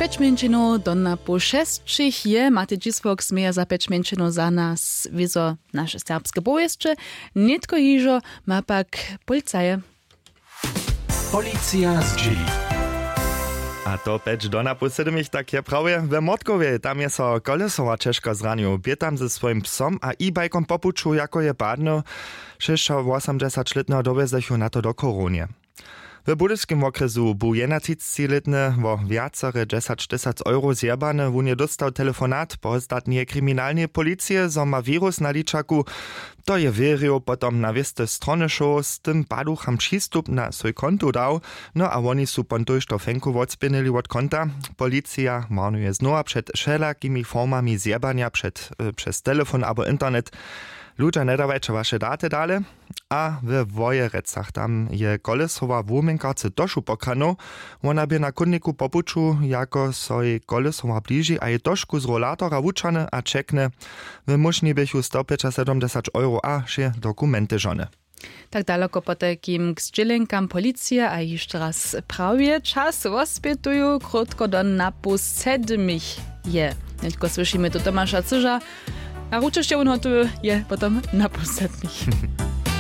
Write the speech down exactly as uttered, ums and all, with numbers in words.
Pjeć mjeńšinow do na poł šesćich je matej dźisłok směje za pjeć mjeńšinow za nas wězo naše serbske powěsće. Nětko hižo ma pak policaje. Policija zdźěli. A to pjeć do na poł sedmich tak je prawje we mordkowje, tam je so kolesowa ćežko zranił bě tam ze swojim psom a e-bajkom po puću jako je padnył. Šěsćawosomdźesaćlětneho dowjezechu na to do chorownje. W budyskim wokrjesu bu jednatřicećilětny wo wjacere dźesaćtysac euro zjebany. Wón je dóstał telefonat po statneje kriminalneje policije zo ma wirus na ličaku. To je wěrił potom na wěste strony šoł z tym paducham přistup na swój kontu dał. No a woni su pon tójšto fenku wotspěnyli wot konta. Policija warnuje znowa před wšelakimi formami zjebanja před, přez telefon abo internet. Ludźa njedawajće waše daty dale. A we wojerecach tam je kolesowa wuměnkarce tošu pokranow. Wona bě na chódniku po puću jako so jej kolesowa bliži a je tošku z rolatora wučany a čekny. W móžni běchu stopjećasedomdźesać euro a wše dokumenty žony. Tak daloko potajkim k zdźělenkam policije a hišće raz prawje čas wospětuju krótko do na pół sedmich. Je nětko słyšimy tu tomaša cyža. A ručešće wón hotowy je potom na pół sedmich.